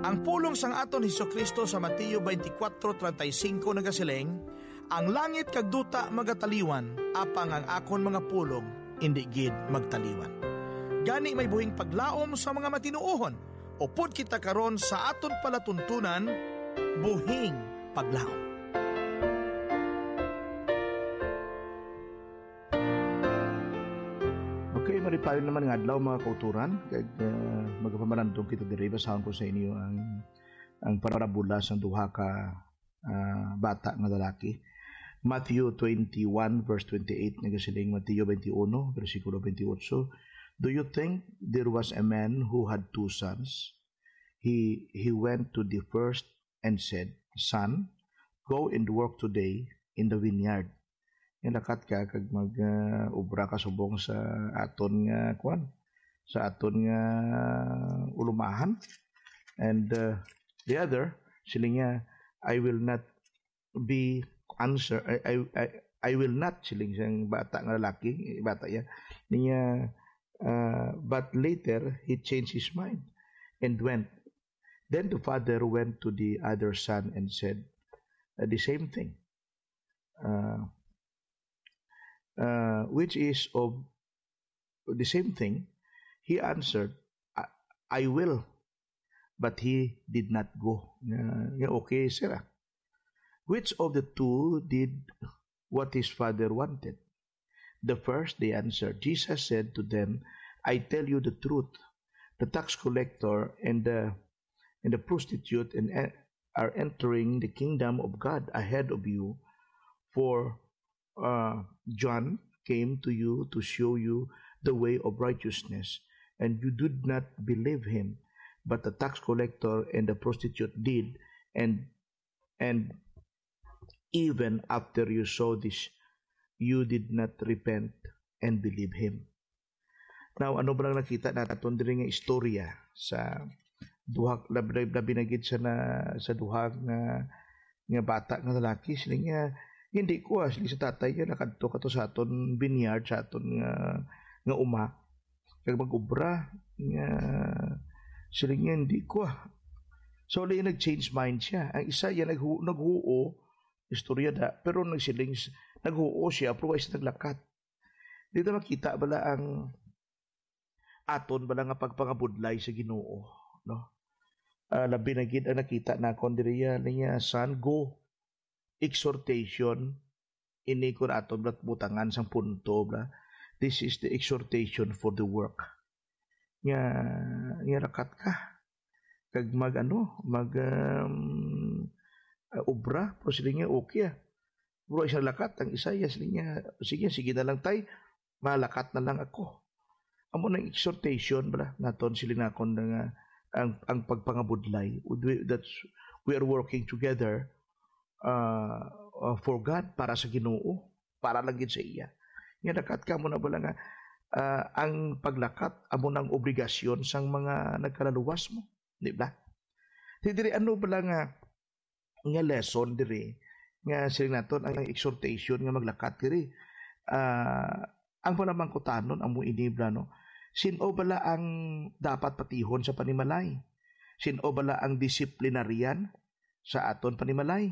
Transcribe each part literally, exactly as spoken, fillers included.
Ang pulong sang aton Jesu-Cristo sa Mateo twenty-four thirty-five nagasiling, "Ang langit kag duta magataliwan, apang ang akon mga pulong indi gid magtaliwan." Gani may buhing paglaom sa mga matinuohon, upod kita karon sa aton palatuntunan, buhing paglaom. Okay, malipayon naman nga adlaw, mga kauturan, kag, ah, magapamalandong kita diri. Basahon ko sa inyo ang, ang parabola sang duha ka, ah, bata nga lalaki. Matthew twenty-one, verse twenty-eight, nagasiling, Mateo twenty-one, bersikulo twenty-eight, "Do you think there was a man who had two sons? He, he went to the first and said, 'Son, go and work today in the vineyard.'" Nga lakat ka kag mag, ah, obra ka subong sa aton nga, kuwan, sa aton nga ulumahan. And, ah, the other, siling niya, "I will not be answer, I, I, I, I will not," siling sang bata nga lalaki, bata ya, niya, ah, but later he changed his mind and went. Then the father went to the other son and said, uh, the same thing. Uh, uh, which is of the same thing. He answered, "I, I will," but he did not go. Nga, nga okay, sir, ah. Which of the two did what his father wanted? "The first," they answered. Jesus said to them, "I tell you the truth. The tax collector and the, and the prostitute and e-, are entering the kingdom of God ahead of you. For, uh, John came to you to show you the way of righteousness, and you did not believe him. But the tax collector and the prostitute did, and, and even after you saw this, you did not repent and believe him." Now, ano ba lang nakita naton diri nga istorya sa duha, labi, labi na gid sa na, sa duha nga, nga bata nga lalaki? Sila nga, "Hindi ko, ah," sila sa tatay niya, "nakadto ka to sa aton vineyard, sa aton nga, nga uma, kag mag-obra." Nga, sila nga, "Hindi ko, ah." So, ulit nag-change mind siya. Ang isa, yan, naghu-, naghuo, istorya da, pero nagsiling s-, naghuo siya, pero wala siya naglakat. Dito makita bala ang aton bala nga pagpangabudlay sa Ginoo, no? Ah, labi na gid ang nakita nakon diri ya, niya, "Son, go." Exhortation, ini kun aton bala butangan sang punto, bala. This is the exhortation for the work. Nga, nga lakat ka. Kag mag, ano, mag, um, ah, obra, pero sila nga okay, ah. Pero isang lakat, ang isa, yes, niya, "Sige, sige na lang, tay. Malakat na lang ako." Amo nang exhortation, bala, naton, sila nakon nga, ang, ang pagpangabudlay. We, that's, we are working together, uh, uh, for God, para sa Ginoo, para lang gid sa iya. Nga lakat ka mo na bala nga, ah, ang paglakat amo nang obligasyon sang mga nagkalaluwas mo, di ba? Di diri, ano bala nga, nga lesson diri nga siling naton ang exhortation nga maglakat diri? Ah, ang panamangkutanon amo ini, bala, no? Sin-o bala ang dapat patihon sa panimalay? Sin-o bala ang disciplinarian sa aton panimalay?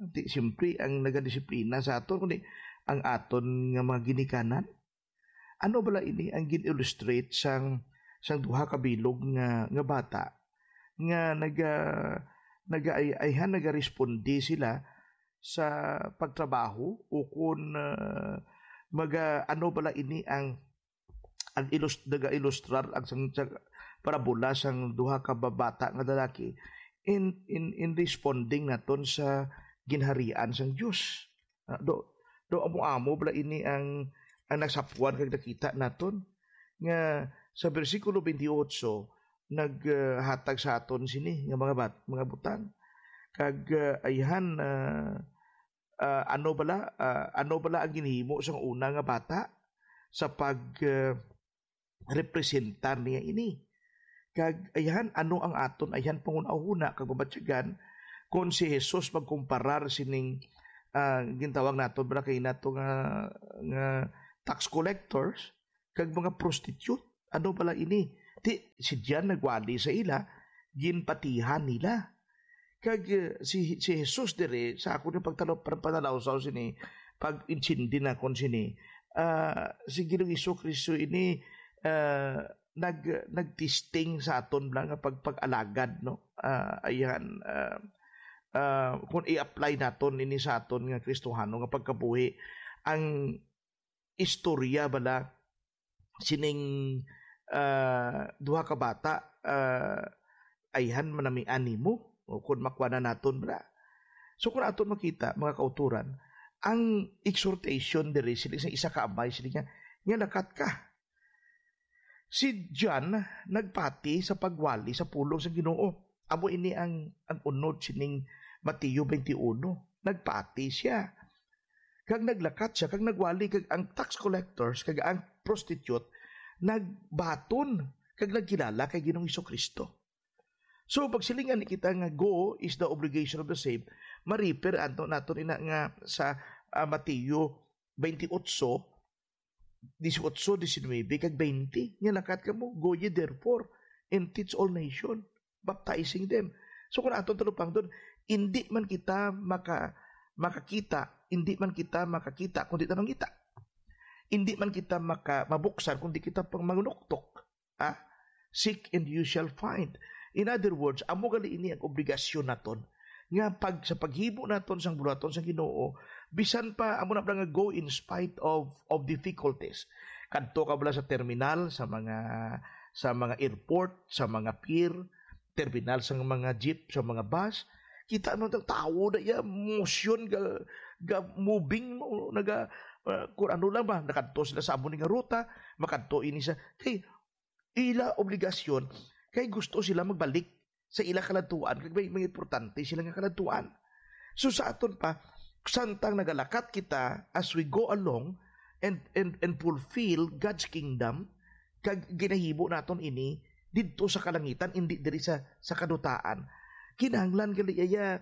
Di, siyempre, ang nagadisiplina sa aton, kundi ang aton nga mga ginikanan. Ano bala ini ang gin-illustrate sang, sang duha ka bilog nga, nga bata nga naga-, naga-, ay-, ayhan, nagaresponde sila sa pagtrabaho, o kun, ah, maga-, ano bala ini ang ang ilus-, naga-ilustrar ang sang, sa parabola sang duha ka babata nga lalaki in, in, in responding naton sa ginharian sang Dios. Ah, do, do amo-amo bala ini ang, ang nagsapwan kag nakita naton nga sa bersikulo twenty-eight naghatag sa aton sini nga mga bat-, mga butang. Kag, ah, ayhan, ah, ah, ano bala, ah, ano bala ang ginhimo sang una nga bata sa pag, ah, representar niya ini? Kag ayhan, ano ang aton ayhan panghunahuna kag mabatyagan kon si Jesus magkumparar sining, ah, gintawag naton bala kay nato nga, nga tax collectors kag mga prostitute? Ano bala ini? Ti, si John nagwali sa ila, ginpatihan nila. Kag, eh, si, si Jesus diri, sa akon nga pagtalo-, pag-, panalawsaw sini, pag-intindi nakon sini, ah, si Ginoong Jesu-Cristo ini, ah, nag-, nagtesting sa aton bala nga pag-, pag-alagad, no? Ah, ayan, ah, ah, kung i-apply naton ini sa aton nga Kristohano nga pagkabuhi, ang istorya bala sining, ah, duha ka bata, ah, ayhan manamian nimo, o kon makuha na naton bala. So, kung aton makita, mga kauturan, ang exhortation diri sila sa isa ka amay, sila nga, nga lakat ka. Si John nagpati sa pagwali sa pulong sa Ginoo. Amo ini ang, ang unod sining Mateo twenty-one. Nagpati siya. Kag naglakat siya, kag nagwali, kag ang tax collectors, kag ang prostitute, nagbaton, kag nagkilala kay Ginoong Jesu-Cristo. So, pag silingan ni kita nga go is the obligation of the saved, ma-refer anto naton ina nga sa, ah, Mateo twenty-eight, dieciocho, diecinuebe, kag twenty. Nga lakat kamo, "Go ye therefore, and teach all nation, baptizing them." So, kung aton talupangdon, indi man kita maka-, makakita, indi man kita makakita, kung di ta mangita. Indi man kita maka-, mabuksan, kung di kita pang mangunuktok. Ah, "Seek and you shall find." In other words, amo gali ini ang obligasyon naton, nga pag, sa paghimo naton sang buhaton sang Ginoo, bisan pa amo na nga go in spite of, of difficulties. Kadto ka bala sa terminal, sa mga, sa mga airport, sa mga pier, terminal sa mga jeep, sa mga bus, kita mo ang tawo na iya, motion, ga, ga moving mo, naga, ah, kung ano lang ba, nakadto sila sa amo ni nga ruta, makadto ini sa, hey, ila obligasyon, kay gusto sila magbalik sa ila kaladtuan, kag may mga importante sila nga kaladtuan. So, sa aton pa, samtang nagalakat kita, as we go along and, and, and fulfill God's kingdom, kag ginahimo naton ini didto sa kalangitan, indi diri sa, sa kadutaan. Kinahanglan gali iya,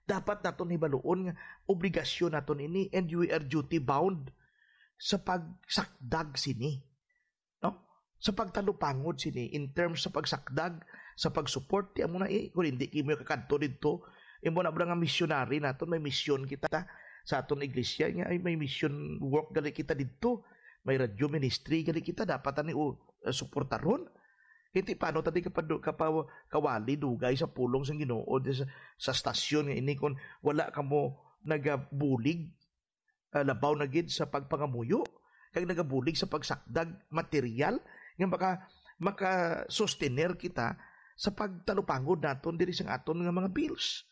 dapat naton hibaluon nga obligasyon naton ini, and we are duty bound sa pagsakdag sini, no? Sa pagtalupangod sini, in terms sa pagsakdag, sa pag-support, ti amo na, eh, kung hindi kamo kakadto didto, imo na ba nga missionary naton, may mission kita sa aton iglesia, nga ay may mission work gali kita didto, may radio ministry gali kita, dapat ani o, uh, suportaron. Hindi, paano ta di kapadu-, kapaw-, kawali dugay sa pulong sang Ginoo di sa, sa stasyon nga ini, kung wala kamo nagabulig, ah, labaw na gid sa pagpangamuyo, kag nagabulig sa pagsakdag material nga maka-, maka-sustener kita sa pagtalupangod naton diri sang aton nga mga bills.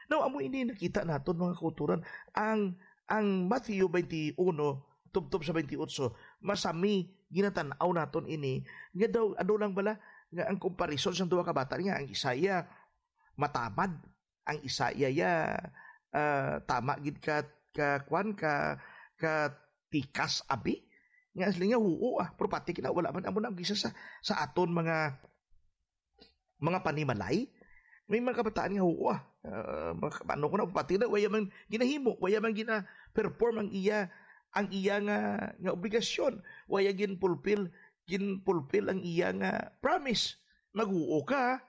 Now, amo ini nakita naton, mga kauturan, ang, ang Mateo twenty-one, tubtob sa twenty-eight, masami ginatan-aw naton ini, nga daw, ano lang bala, nga ang comparison sang duha ka bata nga ang isa iya matamad, ang isa iya, iya, ah, tama gid ka, ka, kwan, ka, ka tikas abi. Nga asli nga, huo, ah, pero pati kina, wala man, amo na ang gisa sa, sa aton mga, mga panimalay. May mga kabataan nga, huo, ah, ah, mga, ano ko na, pati na, waya man ginahimo, waya man gina-perform ang iya, ang iya nga, nga obligasyon, waya gin-fulfill, gin-fulfill ang iya nga promise. Mag-uo ka.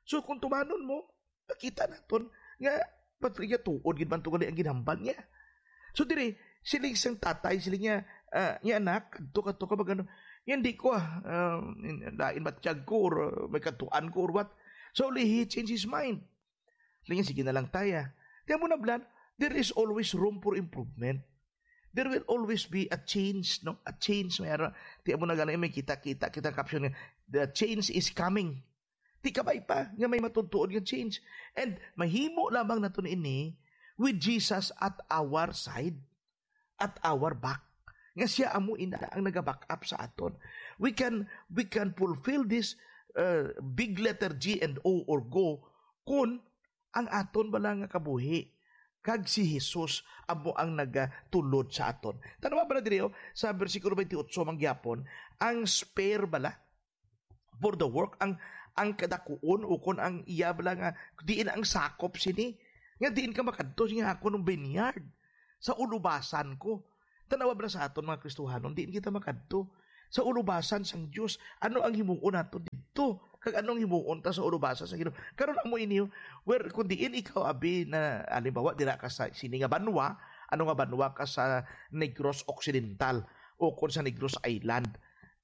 So, kung tumanon mo, makita naton nga, patriya, tuod gid man to gali ang ginhambal niya. So, diri, siling sang tatay, siling niya, ah, niya, "Anak, kadto, kadto ka, magano, hindi ko, ah, um, lain ba tiyag ko, or, uh, may katuan ko, or what?" So, he changed his mind. Siling niya, "Sige na lang, tay, ah." Kaya mo na, Blan, there is always room for improvement. There will always be a change, no? A change, may ara. Di mo na gani, may kita-kita, kita caption nga, "The change is coming." Di kabay pa nga may matutuod nga change. And mahimo lamang naton ini with Jesus at our side, at our back. Nga siya amo ina ang naga-back up sa aton. We can, we can fulfill this, uh, big letter G and O or go kung ang aton bala nga kabuhi kag si Jesus amo ang nagatulod sa aton. Tan-awa bala diri, oh, sa bersikulo twenty-eight man gyapon, ang spare bala for the work, ang, ang kadakuon, ukon ang iya bala nga, diin ang sakop sini, nga diin ka makadto, siya, "Ako nung vineyard, sa ulubasan ko." Tan-awa bala sa aton, mga Kristohanon, diin kita makadto? Sa ulubasan sang Dios, ano ang himuon nato didto? Kag anong himuon ta sa ulubasan sa Ginoo? Karon amo ini, well, kung diin ikaw abi na, halimbawa, dira ka sa sini nga banwa, ano nga banwa ka sa Negros Occidental o kung sa Negros Island?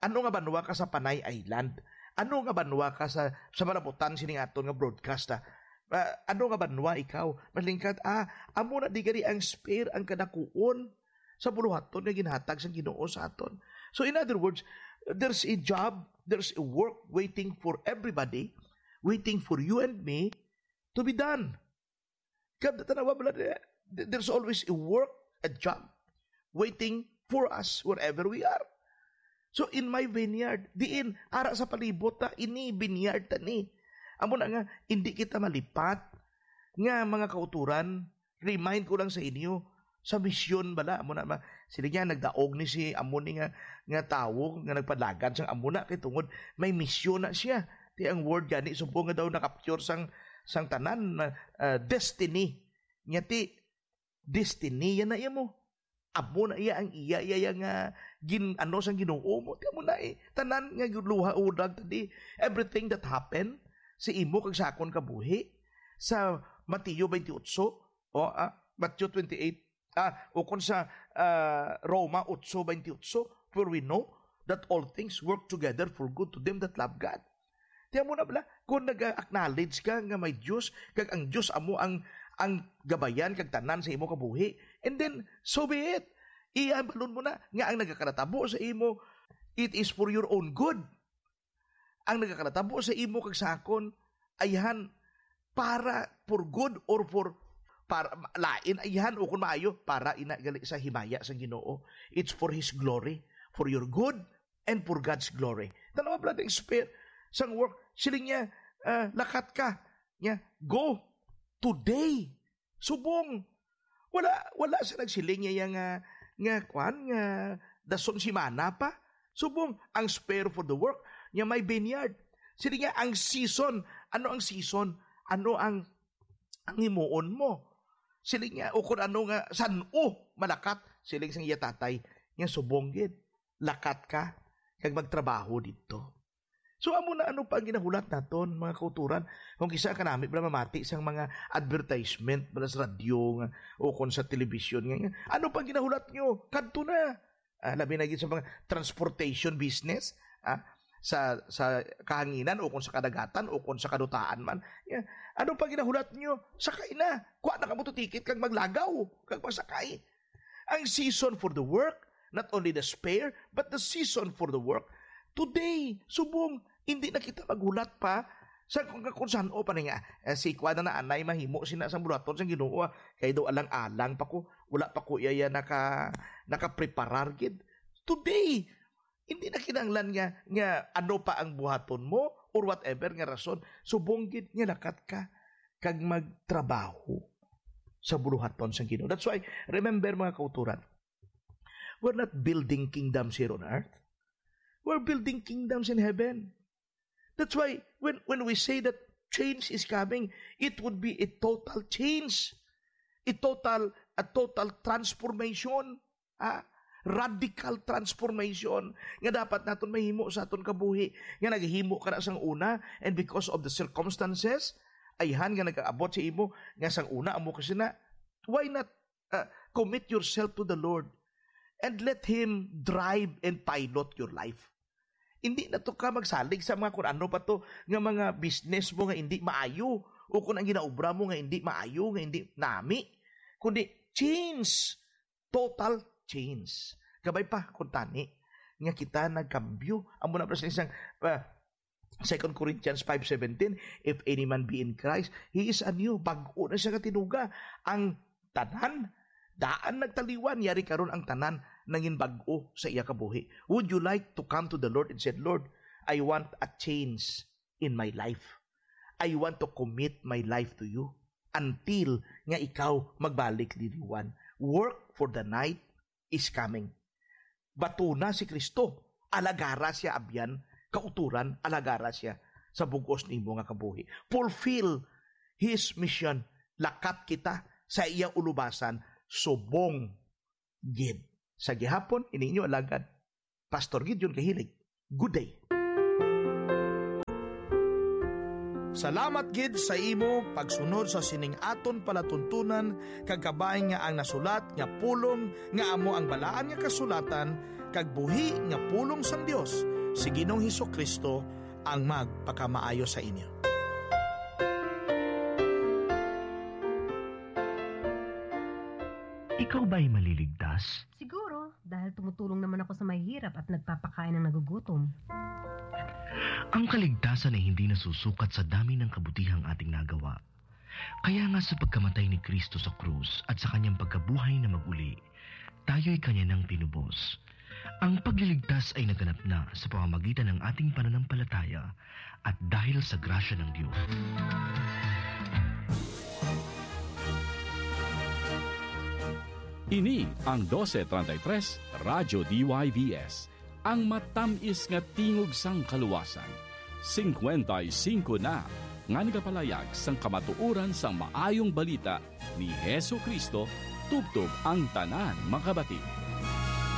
Ano nga banwa ka sa Panay Island? Ano nga banwa ka sa, sa malabutan sini nga aton nga broadcast, ha? Ah, ano nga banwa ikaw? Malingkat, ah, amo na di gani ang spare, ang kadakuon sa buluhaton nga ginhatag sang Ginoo sa aton. So, in other words, there's a job, there's a work waiting for everybody, waiting for you and me to be done. Kaya tanawa mo lang, eh, there's always a work, a job waiting for us wherever we are. So, in my vineyard, diin, ara sa palibot ta, ini vineyard ta ni. Amo na nga, hindi kita malipat nga mga kauturan, remind ko lang sa inyo, sa misyon bala, amo na ma-, sila niya, nagdaog ni si amo ni nga, nga tawo nga nagpadalagan sang amo na, kay tungod may misyon na siya. Ti ang word gani, subong nga daw nakapture sang, sang tanan, ah, destiny. Nya ti, destiny yan na iya mo. Amo na iya ang iya, iya, iya nga gin-, ano sang Ginoo mo. Ti amo na eh. Tanan nga luha, udag, tadi. Everything that happened sa imo kag sa akon kabuhi, sa Mateo twenty-eight, o, ah, Mateo twenty-eight, ah, ukon sa, ah, Roma eight twenty-eight, for we know that all things work together for good to them that love God. Tiyan mo na bala, kung nag-acknowledge ka nga may Diyos, kag ang Diyos amo ang, ang gabayan kag tanan sa imo kabuhi, and then, so be it. Iyabalon mo na nga ang nagakanatabo sa imo, it is for your own good. Ang nagakanatabo sa imo kag sa akon, ayhan para for good or for, para lain, ayhan o kung maayo, para ina gali sa himaya sang Ginoo. It's for His glory, for your good, and for God's glory. Tanawa, brother, expert sang work. Siling niya, ah, lakat ka. Niya, go today. Subong. Wala, wala sa nagsiling niya nga, nga, kwan, nga dason simana pa. Subong, ang spare for the work, niya may vineyard. Siling niya, ang season. Ano ang season? Ano ang, ang himuon mo? Siling niya, o kung ano nga, san-o malakat? Siling sang iya tatay, niya subong gid. Lakat ka, kag magtrabaho dito. So, amo na, ano pa ang ginahulat naton, mga kauturan? Kung kisa ka nami, bala mamati sang mga advertisement, bala sa radyo nga, o kung sa telebisyon nga, nga, ano pa ang ginahulat nyo? Kadto na. Ah, labi na gid sa mga transportation business, ah, sa, sa kahanginan, o kung sa kadagatan, o kung sa kadutaan man. Yeah. Ano pa ginahulat nyo? Sakay na. Kuha na kamo to ticket kag maglagaw, kag magsakay. Ang season for the work, not only the spare, but the season for the work. Today, subong, hindi na kita maghulat pa sa kung, kung saan o pa nga, eh, si kwa na naanay mahimo sina sa bulaton sa Ginoo, ah, kay daw alang-alang pa ko, wala pa ko iya naka, nakapreparar gid. Today, hindi na kinahanglan nga, nga ano pa ang buhaton mo or whatever nga rason, subong gid nga lakat ka kag magtrabaho sa buluhaton sang Ginoo. That's why, remember, mga kauturan, we're not building kingdoms here on earth. We're building kingdoms in heaven. That's why when, when we say that change is coming, it would be a total change, a total, a total transformation, ah, radical transformation nga dapat naton mahimo sa aton kabuhi, nga naghimo ka na sang una, and because of the circumstances, ayhan nga nag-aabot sa imo nga sang una amo ka sina, why not, ah, commit yourself to the Lord and let Him drive and pilot your life? Hindi na to ka magsalig sa mga kung ano pa to nga mga business mo nga hindi maayo, o kung ang ginaobra mo nga hindi maayo, nga hindi nami, kundi change, total change. Kabay pa, kung tani, nga kita nagkambyo. Amo na pa sa isang, ah, Second Corinthians five seventeen, "If any man be in Christ, he is anew." Bag-o na siya nga tinuga. Ang tanan, daan nagtaliwan, yari karon ang tanan nangin bag-o sa iya kabuhi. Would you like to come to the Lord and said, "Lord, I want a change in my life. I want to commit my life to you until nga ikaw magbalik diri, Juan." Work, for the night is coming. Batuna si Kristo, alagara siya, abyan, kauturan, alagara siya sa bug-os nimo nga kabuhi. Fulfill His mission. Lakat kita sa iya ulubasan, subong gid. Sa gihapon, ini inyo alagad, Pastor Gideon Kahilig. Good day. Salamat gid sa imo pagsunod sa sining aton palatuntunan, kag kabay nga ang nasulat nga pulong nga amo ang Balaan nga Kasulatan kag buhi nga pulong sang Dios, si Ginoong Hesus-Kristo ang magpakamaayo sa inyo. Ikaw ba'y maliligtas? Siguro, dahil tumutulong naman ako sa mahihirap at nagpapakain ng nagugutom. Ang kaligtasan ay hindi nasusukat sa dami ng kabutihang ating nagawa. Kaya nga sa pagkamatay ni Kristo sa krus at sa kanyang pagkabuhay na maguli, tayo'y kanya nang tinubos. Ang pagliligtas ay naganap na sa pamamagitan ng ating pananampalataya at dahil sa grasya ng Diyos. Ini ang dose treinta y tres Radyo D Y V S, ang matamis nga tingog sang kaluwasan. Singkwenta y singko na nga nagapalayag sang kamatuoran sang maayong balita ni Jesu-Cristo tubtob ang tanan makabati.